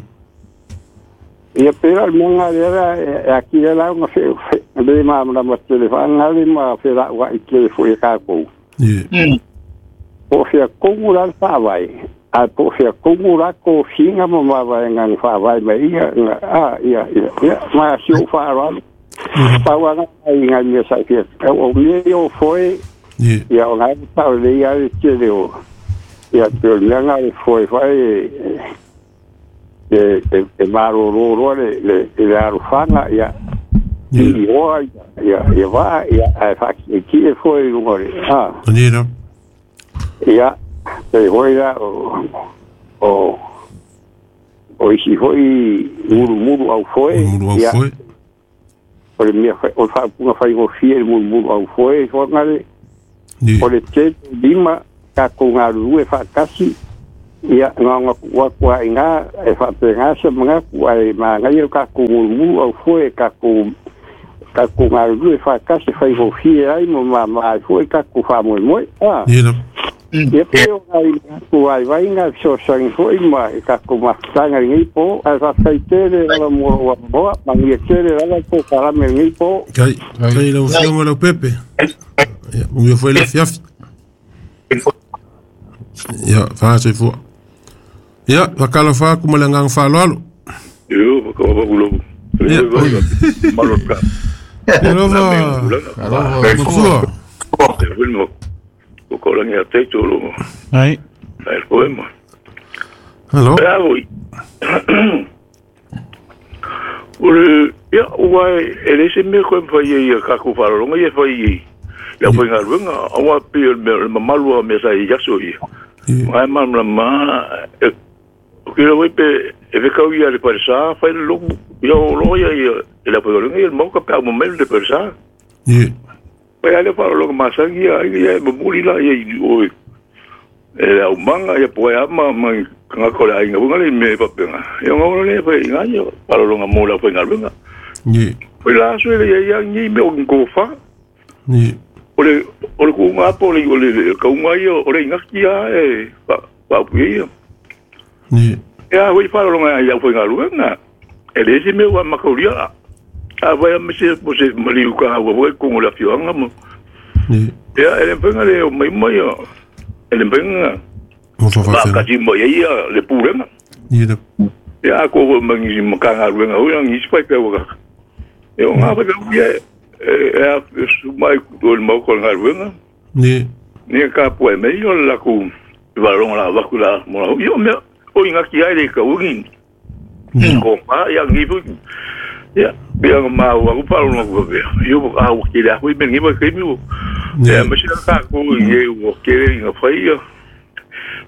Ia pera le monga le ra e akira la nga fe le ma ma ma tele fa nga le ma fe la wa i tele fo e ka ko. Ie. Po fe ko la fa vai. A po fe ko la ko finga ma ma vai nga fa vai ma ia nga a ia ia ia ma si o fa ra. Pa wa nga i nga me sa ke o me o foi Ie. ia o nga pa le ia le tele o. Ia te le nga le foi foi e e e maro ro ro le le le arufanga ia i oa ia ia va ia a fa ki e foi ngore ha Ie la. ia e hoi la o o o isi hoi muru muru au foi Muru au ia foi. O le mea o le faaupuga faigofie i le mulumulu aufoe foagale o le tele lima tatou galulue faatasi ia gaoga tuu atu aiga e faapena se manatu ae magaia le tatou mulumulu aufoe e tatou tatou galulue faatasi faigofie ai ma mamā ai foi tatou faamoemoe a ia pei o nai manatu vaivaiga fesoasoani foi ma e tatou mafutaga i lenei po ae faafetai tele lava mo lou avanoa manuia tele lava po kalame i lenei po. Kai kai lau afioga Leaupepe. Ia manuia foi le afiafi. Ia faasoifua. Ia faatalofa atu ma le agaga faaaloalo. Io whakawawaulau. Ia Maloka. Ia lava matua. Te wilmo. O kolangi a te tolo. Ai. Ai poema. Hello. Bravo. Ore ia ua e le se me ko mfai ia ka ku farolonga ia fai ia fai ngaruenga awa pe le mamalu a me sa ia so ia. Ai ma ma e ke lo pe e ve kau ia le parsa fai lo ia lo ia ia le farolonga ia mo ka pa mo me le parsa. Ia. Pai ale farolonga masangi ia ia mo la ia o e au manga ia po ama ma nga ko la inga bunga le me papenga ia ngolo le pe inga ia parolonga mo la pe ngaluenga ni o la so le ia ni me o ngofa ni o le o le ku nga po le o le ka unga ia o le inga kia e pa pa ia ni ia o parolonga ia pe ngaluenga e le se me wa makauria a vai me se po se mali ka wa ko la fioanga mo ni ia ele penga le o mai mai ele benga ba ka mo ia le purenga ni da ia ko mangi makanga ruenga o ngi spai pe wa e o nga pe ia e a su mai ko el mo ko ngaruenga ni ni ka po me yo la ku valon la va ku la mo yo me o inga ki ai le ka ugi ni ko pa ya ngi fu ya bia ma wa ku pa lo ku be yo a o ki la hu me ngi ba ke mi ya me ka ko ye o ke nga fai ya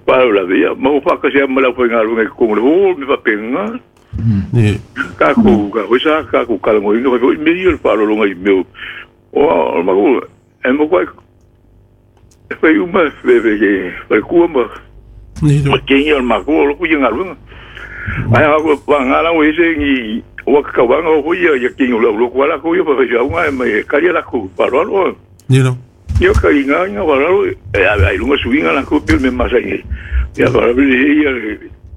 pa la via ma o pa ka se ma la foi nga lunga ko lo me pa penga ni ka ko ka o sa ka ko ka ngo inga foi me yo pa lo nga me o ma ko e mo ko foi uma fe fe fe ku ma ni ma ke yo ma ko lo ku nga lunga ai a ko pa nga la o ese ni o ka wa nga o ia ya ke lo lo ko la ko yo pa fe nga me ka ya la ko pa lo lo ni no yo ka inga inga wala e ai lunga suinga la ko pe me masa ni ya para ver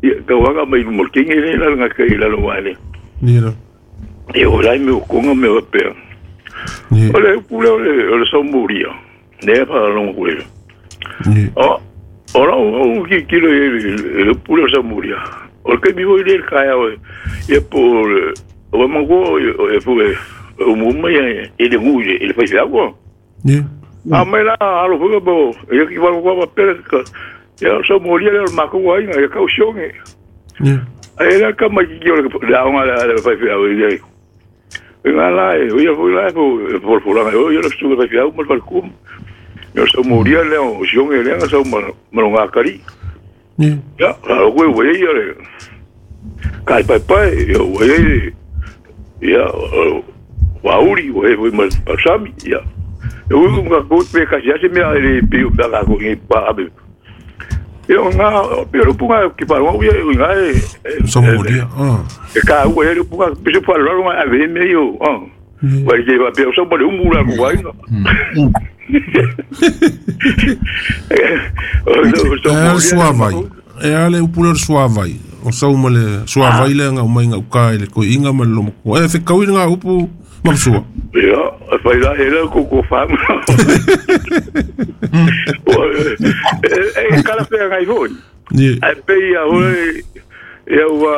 ia ka wanga mai mo kingi ni la nga ka ila lo wale ni no e o lai me ko nga me pe ni ole pule ole ole so muria ne pa lo ko ni o ora o ki ki lo le pule so muria o ke mi voi le ka ya e por o mango e fu o mo mai e le ngu e le fai agua ni a me la alo fuga bo e ki va ko pa per ka ya so moria le ma ko ai nga ka ushonge ni ai la ka ma ki yo la nga la la fa fa o ye nga la e yo fui la po por por la yo yo su fa fa mo fa kum yo so moria le o ushonge le nga so ma ma nga kari ni ya la ko we yo le kai pa pa yo we ya wa uri we we ma sami ya eu nga ko pe ka ya se me le pe ba ka ko ni pa be eu nga pe lo punga ki pa lo ye nga e so moria ah e ka o ye punga pe se pa lo nga ve me yo ah wa ke ba pe so mo le umura ko wa no e suavai e ale upuler suavai o sa uma le suavai le nga mai nga ka le ko inga ma lo ko e fe kau nga upu ma sua ia fai la era ko ko fam e kala pe ngai foi ni e pe ia o ia wa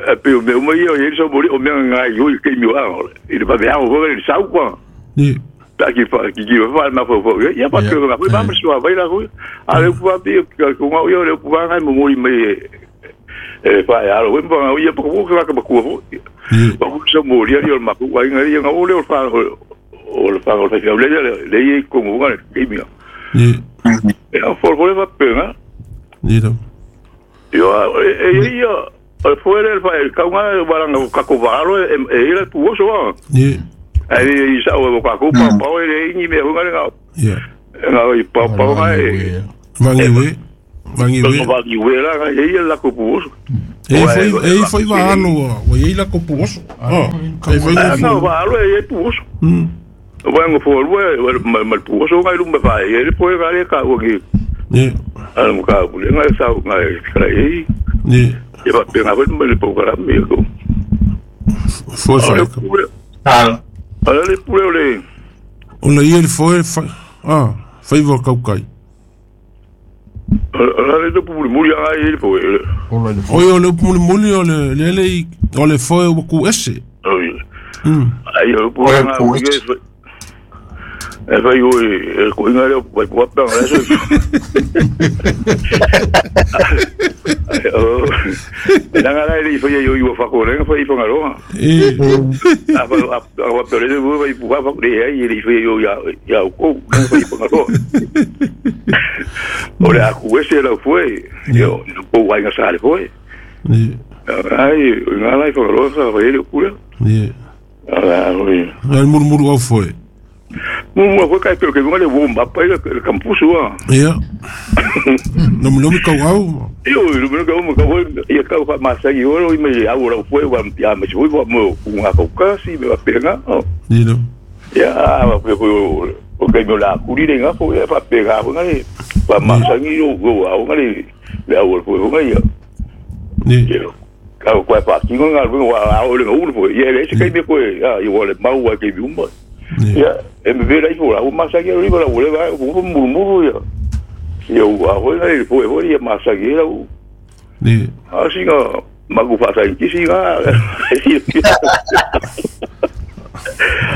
e pe o me ia e so mori o me ngai yo ke mi wa e ba be o le sau ko ni ta ki fa ki ki fa ma fo fo ia pa ke nga ba ma sua vai la ko a le pu pi ko nga yo le pu ngai mo mori me e fa ya lo ba ia pa ko ka ka ko ba ko so mori ia ma ko ngai ngai nga o le fa o le fa o le fa le le le ko nga ke mi ni e a for for va pe nga ni do yo e ia o fuera el fa el ka nga ba nga ka ko va lo e ira pu so ni Ai i sa o ka ku pa pa le ni me hunga nga. Yeah. Nga i pa pa nga e. Vangi we. Vangi we. Vangi we la nga e la ko pu. E foi e foi va alo, o e la ko pu. Ah. E foi no va alo e pu. Mm. Wa ngo fo we mal pu so nga lu me fa e le po ga le ka o ki. Ni. Ala mo ka bu le nga sa nga ka e. Ni. E va pe nga me le po ka me ko. Foi foi. Ah. Ala le pule le. O le ia foi ah, foi vo kau kai. Ala le pu muli a ia foi. O ia le pu muli o le le le o le foi o ku ese. Mm. Ai o pu nga e vai o e ko inga le vai pu pa nga so. O la la le foi yo yo fa ko le foi fa ngalo. E a a a pe le vai pu fa le ai le foi yo ya ya ko foi fa ngalo. O le a ku ese la foi yo ko vai nga sa le foi. Ni. Ai nga la fa ngalo sa foi le ku le. Ni. Ala oi. Al murmuru au foi. Mo mo kai pelo que vale bomba pa el campus wa. Ja. No me lo me kau. Yo no me kau mo kau ia kau fa masa yo lo me au lo foi wa ya me foi wa mo unha kau kasi me va pega. Ni no. Ya va pe o o kai mo la kuri le nga fo ya fa pega nga le fa masa ni yo go au nga le le au foi nga ya. Ni. Kau kwa pa ki nga wa au le nga fo ye le se kai me ko ya yo le mau wa ke bi umba. Ya, e me vera ifo la masa que riba la voleva un murmuro ya. Yo a vola e foi foi masa que era o. Ni. Assim ó, mago faça em que sim ah.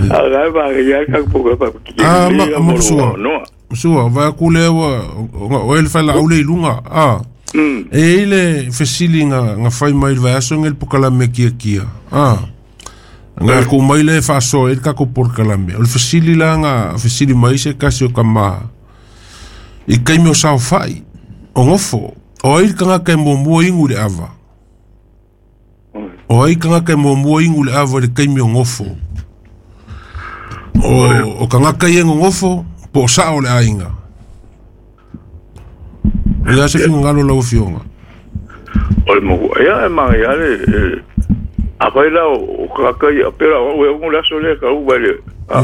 Agora vai ya ka pouco pa. Ah, ma sua. Sua, vai ku le o ele fala au le lunga. Ah. E ele fesili nga nga fai mai vai aso ngel pokala me kia kia. Ah. Nga ku mai le fa so el ka ko por kalame. O fesili la nga fesili mai se kasi o kama. I kai me o sao fai. O ngofo. O ai kanga kai mo mo ingu le ava. O ai kanga kai mo mo ingu le ava le kai me o ngofo. O o kanga kai ngofo po sao le ainga. O ya se finga lo la fionga. O le mo ya ma ya le a vai lá o kaka ia pera o eu um laço le ka o vale a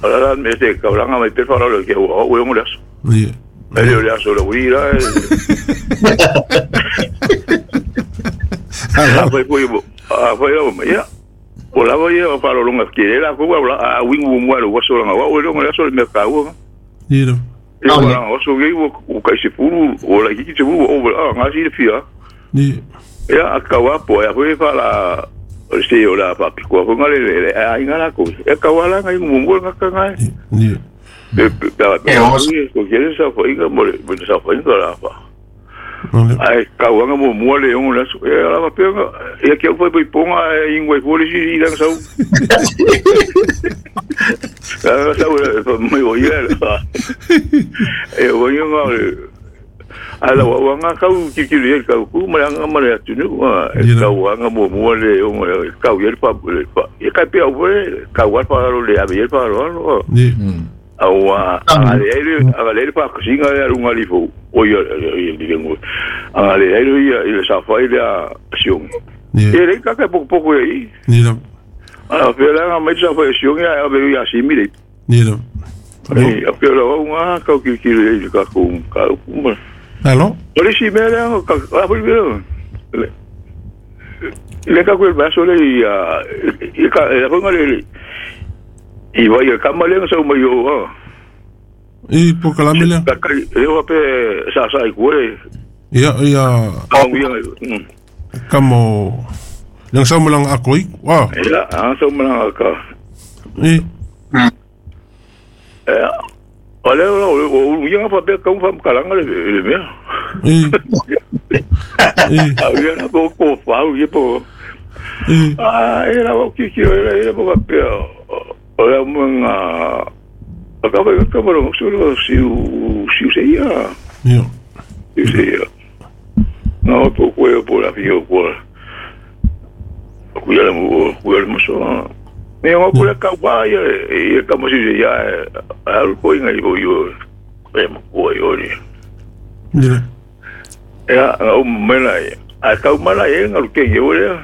la me te ka la me pe fara lo que o o um laço yeah ele o laço lo ira a vai foi a vai o ya o la vai o faro longa que era ko a wingu mo lo waso la o lo laço me ka o yeah no o so ge o ka se puru o la ki se o o ngasi fia yeah ya akawa po ya foi fala se o la pa ko ko ngale le a ingala ko e ka wala ngai mo mo nga ka ngai ni e pa ko quiere sa foi nga mo mo sa foi nga la pa ai ka wa nga mo mo le on la e la pa pe e que foi foi ponga ingwe foi si ira sa sa mo o ia e o nga ala wa nga kau ki ki le kau ku ma nga ma le tunu ka wa nga mo mo le o kau ye pa pa e ka pe o ka wa pa lo le a ye pa lo lo ni a wa a le a le pa ko singa le runga li fo o yo le ngo a le le ia ile sa fa ile a sion e le ka ka poco poco aí ni no a pe la nga mai sa fa sion ya a be ya si mi le ni no e a pe lo nga kau ki ki le ka ku ka ku Aló? Ole si me le ka a foi le le ka ku el vaso le ia i ka e ko ngale i vai ka male sa mo yo i po kala mele ka ka eu pe sa sa i ku le ia ia kamo lang sa mo lang ako i wa ia a sa mo lang ka i eh ole o o ia pa pe ka um fa kalanga le le me i i a ia na po ko fa o ia po i ah era o que que era era po pe o la mga acaba acaba lo solo si si se ia ia si se ia no po ko po la fio ko ku ia mo ku ia mo so Me o kula ka wa ia ia ka mo si ia al ko inga i yo e mo ko yo ni. Ni. Ya o mela a ka mala e nga ke yo le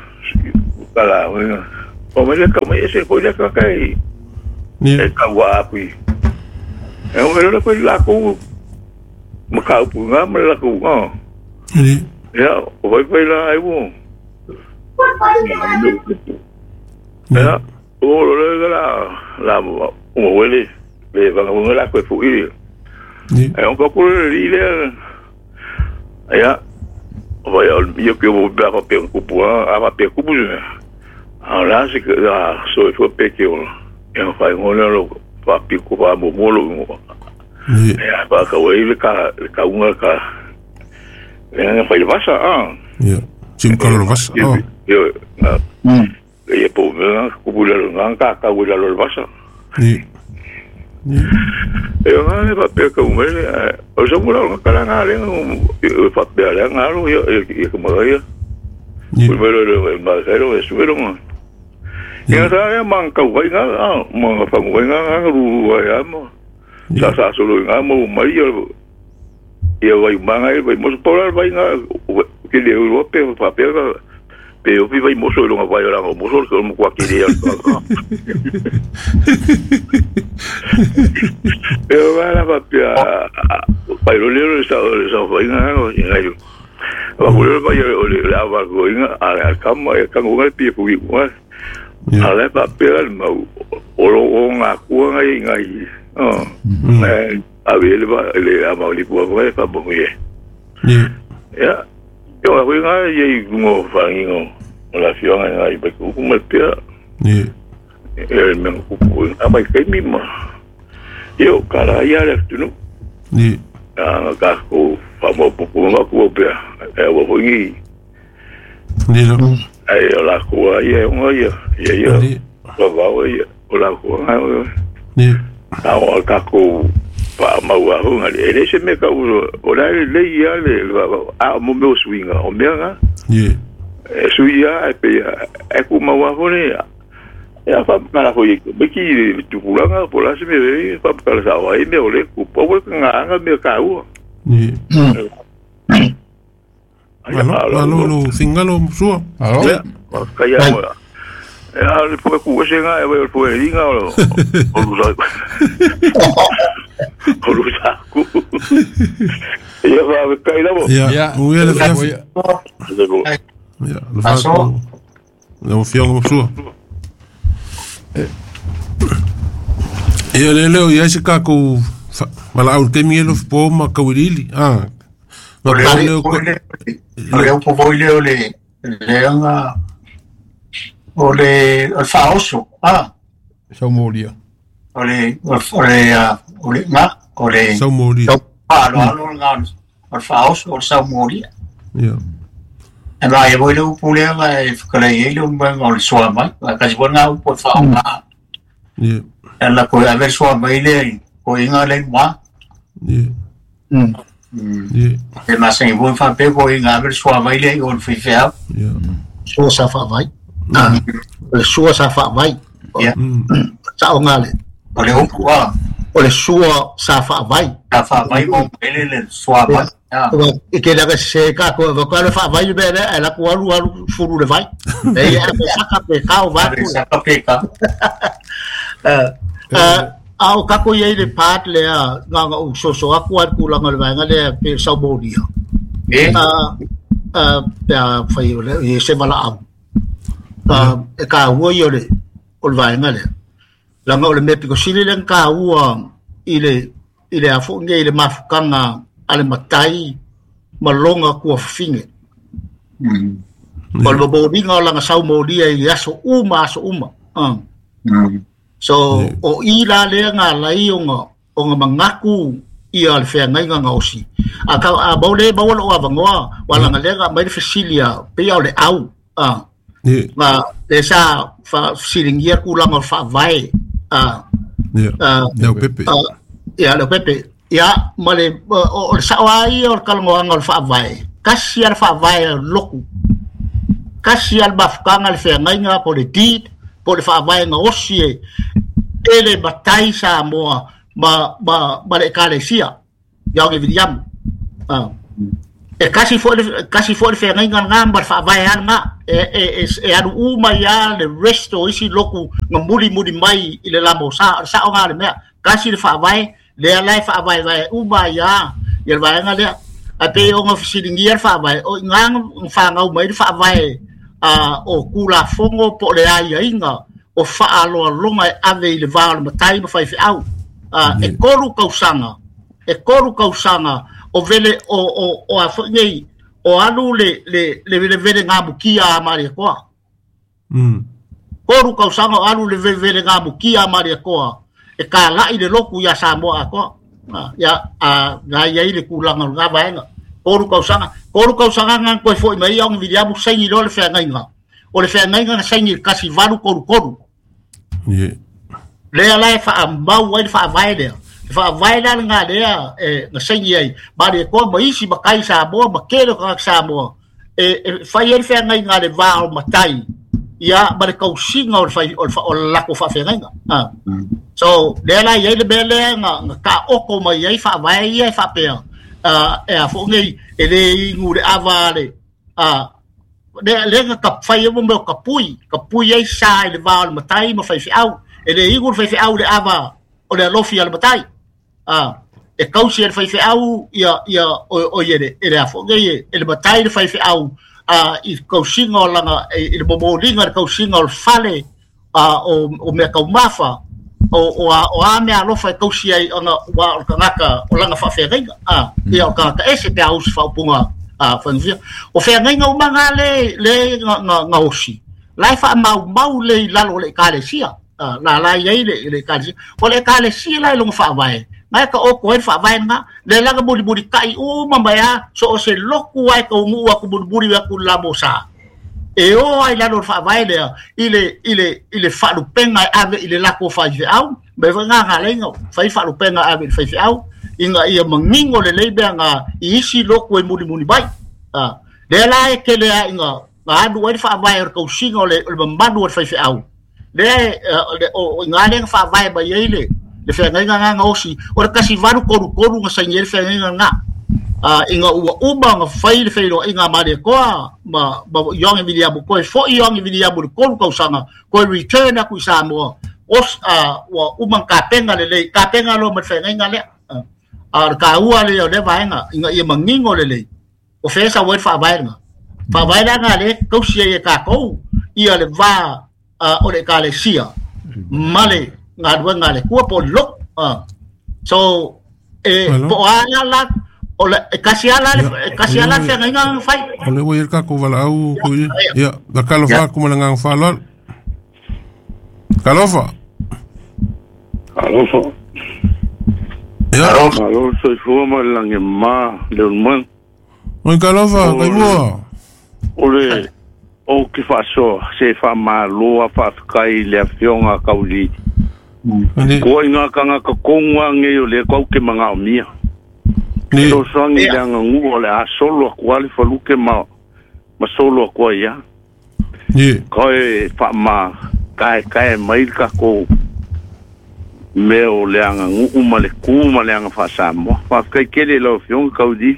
kala o me le ka me ese ko le ka kai. Ni. E ka wa pi. E o le ko la ko ma ka pu nga ma la ko nga. Ni. Ya o vai vai la ai wo. Ya o lo la la o wele le va nga la ko fu i. Ni. E on ko ko le le ya o ya yo que vou ba pa pe ku pu a va pe ku pu a la se que la so fo pe que o e fa ngona lo pa pi ku pa mo mo lo Ni. ya pa ka we le ka ka unga ka e nga fa le vasa ah Ya. Sim ka lo vasa. Yo mm e po me ku pu la nga ka ka we la lo vasa. Ni. Ni. E nga le pa pe ka me o so mo la ka la nga le pa pe la nga lo yo yo como ya. Ni. Pues me lo ma lo es pero mo. Ya sa man ka wa nga ma fa mo nga nga ru ya mo. Sa sa solo nga mo mai yo yo vai manga vai mo por vai nga que le o pe pa pe pe o vai mo solo nga vai la mo solo como kwa que le. Pero va la pa pa lo le sa sa vai nga nga yo. Va por vai la va go nga a kama e ka ngo pi pu nga. A la pa pe al ma o lo nga ku nga nga oh. A ver va le a ma li pu va pa bo ye. Ni. Ya. Yo a nga ye ngo fa ngo la fio nga i ba ku ma pe. Ni. E me ku ku a ba ke mi ma. Yo cara ya le tu no. Ni. A ka ku fa mo pu ku ma ku pe. E wo ho ngi. Ni lo. Ai la ku ye ngo ye ye ye. Ba ba ye o la ku nga. Ni. A o ka ku pa ma wa ho nga le se me ka o o la le ya le a mo me swinga o me nga. Ni. E suia e pe e ku ma wa ho le ya fa ka la ho ye be ki tu pulanga por la se me fa ka la sa wa me o le ku po nga nga me ka u. Ni. Alo, alo, lo singalo sua. Alo. Ka ya mo. E a le po ku se nga e o po e inga o o lu sa. O lu sa ku. Ya va ka ila mo. Ya. Muy bien, ya. Ya, lo fa. Lo fio sua. E le le ia se ka ku mala au te mielo po ma ka wirili. Ah. O le o le po voi le le le nga o le o faoso ah Saumolia. O le o le o le nga o le Saumolia. Ah lo lo nga o faoso o Saumolia. Ya. E va e voi le pule va e ka le le un bang o soa mai ka si bona po fa nga. Ya. E la ko a ver soa mai le ko inga le ma. Ya. Mm. Yeah. E ma se bon fa pe ko inga ver soa mai le o fi fa. Ya. Sua sa fa vai. Ah. Le sua sa fa vai. Ya. Sa o ngale. O le upu a. O le sua sa fa vai. Sa fa vai o le le soa vai. E ke la se ka ko va ka fa vai be le la ko alu alu furu le vai. E a pe sa ka pe ka o va. Sa ka pe ka. Eh a o ka ko ye le pat le a nga nga o so so a ku a ku la nga le nga le pe sa bo dia. E a a pe a fa yo le e se mala au. A e ka ua yo le o le vai nga le. La nga o le me piko sili le ka ua i le i le afo nge i le mafukanga a le matai malonga kua finge. Mm. O le mabōringa o langa sau mōlia i aso uma aso uma. Uh. Mm. So yeah. O i la lea ngā lai o ngā, o ngā mangaku i a le wheangainga ngā osi. A ka a maule maua o awangoa, wala ngā lea ngā mai le fesilia, pia o le au. Uh. Yeah. Ngā le sa whasilingia kulanga o whaavae. Uh. Yeah. Uh, Leo Pepe. Uh, ia, leo Pepe. Ia, ma le, o le saoa ia o le kalangoanga o le whaavae. Kasi a le whaavae o loku. Kasi a le mafukanga le wheangainga po le deed, Po le faavae gaosi e e le matai Samoa ma ma ma le ekalesia Ioge Viliamu. Ah. E kasi foi kasi foi feagaiga lagā ma le faavae a lagā e e e alu uma ia le resto o isi loku ga mulimuli mai i le lamosā o le saʻoga le mea kasi le faavae lea lae faavaevae uma ia ia le vaega lea ae pei oga fesiligia le faavae o igā fagau mai le faavae a o kulafogo po o le aiaiga o faaloaloga e ave i le va o le matai ma faifeau a e tolu kausaga e tolu kausaga o vele o o o a foi nei o alu le le le vele vele ngamukia a Maria Koa. Mm. Koru kausaga o alu le vele vele ngamukia a Maria Koa e ka lai le loku ia Samoa a koa. Ia a ngai ai le kulaga o ngā vaega. Koru kausaga, koru kausaga ngā koe foi mai au Viliamu saini loa le feagaiga. O le feagaiga na saini le kasi valu koru koru. Yeah. Lea lae faamau ai le faavae lea. Faavae la ngā lea e nga saini ai. Maria Koa ma isi ma kai Samoa ma kele o kangaka Samoa. E, e fai ai le feagaiga le vā o matai. Ia ma le kausiga o le fai o le o le lako faafeagaiga. Ah. So lea la iai le mea lea nga nga kaoko mai ai faavae ia e faapea. Ah e a foʻi nei e lē igu le ava le ah lea lea nga ka fai ai mo mea o kapui kapui ai sa i le vā o le matai ma faifeau e lē igu le faifeau le ava o le alofi a le matai. Ah e kausi e le faifeau ia ia o o ia le e le a foʻi nei e le matai le faifeau a i kausiga o laga i le momoliga le kausiga o le fale a o o mea kaumafa o o a o a mea alofa e kausi ai ona ua o le tagata o laga faafeagaiga a ia o tagata ese pe a usi faaupuga a faigofia o feagaiga uma gā le le ga ga gaosi la e faamaumau le i lalo o le ekalesia a la la iai le le ekalesia o le ekalesia la e loga faavae ngai ka oko ai le faavae lagā le laga mulimuli taʻi uma mai a so o se loku ai kauguu aku mulimuli aku le lamosā e o ai lalo o le faavae lea i le i le i le faalupega e ave i le lako faifeau me foi gagaleiga fai faalupega ave i le faifeau ina ia magigo lelei mea ga i isi loku e mulimuli mai a lea la e kele a ina ga alu ai le faavae o le kausiga o le o le mamalu o le faifeau lea o iga lea ga faavae mai ai le le feagaiga gā gaosi o le kasi valu kolu kolu ga saini ai le feagaiga lagā a ina ua uma ga fai le feiloaiga a Maria Koa ma ma Ioge Viliamu koe foʻi Ioge Viliamu le tolu kausaga koe return aku i Samoa os a ua uma kapega lelei kapega loa ma le feagaiga lea a o le kāua lea o lea vaega ina ia magigo lelei o fea sau ai le faavae lagā faavae laga lea kausi ai e kākou ia le vā o le ekalesia ma le galuega a le kua po o le loku. So e po o a la o le e kasi ala le e kasi ala le feagaiga ga fai O le ua i le kākou valaau kui ia la kalofa aku ma le agaga faaaloalo. Kalofa. Alofa. Ia. Malo soifua ma le lagi ma le ulumaga. Oi kalofa kaimua. O le o ke faasoa se faamālō a faafekai i le afioga a Kaulili. Koa i ngā kangaka kongu a ngei o le kau ke magaomia. Ni. Sosoagi le agaguu o le a solo aku a le faluke ma ma solo aku ai a. Ni. Koe faama kaekae mai le kākou mea o le agaguu ma le kū ma le aga faasamoa. Faafetai tele i lau afioga Kaulili.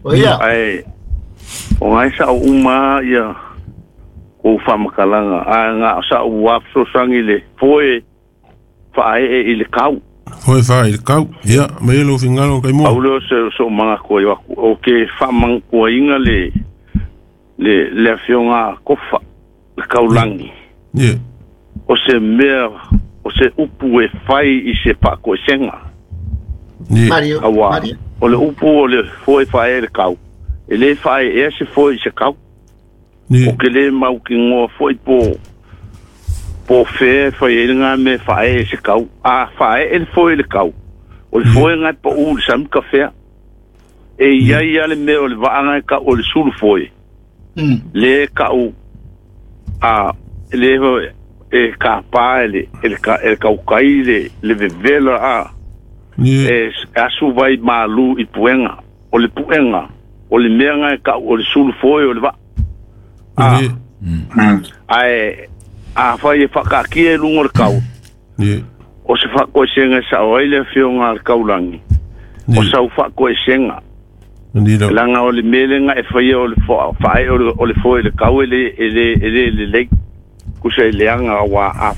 O ia. Ae o ngai sa'u uma ia kou faamakalaga ae ga sa'u fesoasoagi le foe faaee i le kau. Foe faaee i le kau ia mai e lou figalo kaimua. Pau lea o se so'u magaku ai aku o ke faamagakuaiga le le le afioga a Kofa le kaulagi. Ie. O se mea o se upu e fai i se faakoesega. Ie. Mario Auā Mario. o le upu o le foe faaee le kau e lē faaeea se foe i se kau. Ie. O ke lē maukigoa foʻi po po fea e fai ai lagā mea e faaee i se kau a faaee le foe i le kau o le foe gae paʻū i le sami kafea e iai a le mea o le vaaga e kaʻu o le sulu foe Mm. lē kaʻu a lē e kapā e le e le ka e le kaukai le le vevela a Ie. e asu vai mālū i puega o le puega o le mea gae kaʻu o le sulu foe o le vaa a Ie. ae Afai e faakaatia i luga o le kau. Ie. O se faatoesega e sao ai le afioga a le kaulagi. O sau faatoesega. Laga o le mea lega e faia o le faaee o le foe i le kau e le e le e le lelei. Kusa e leaga ua a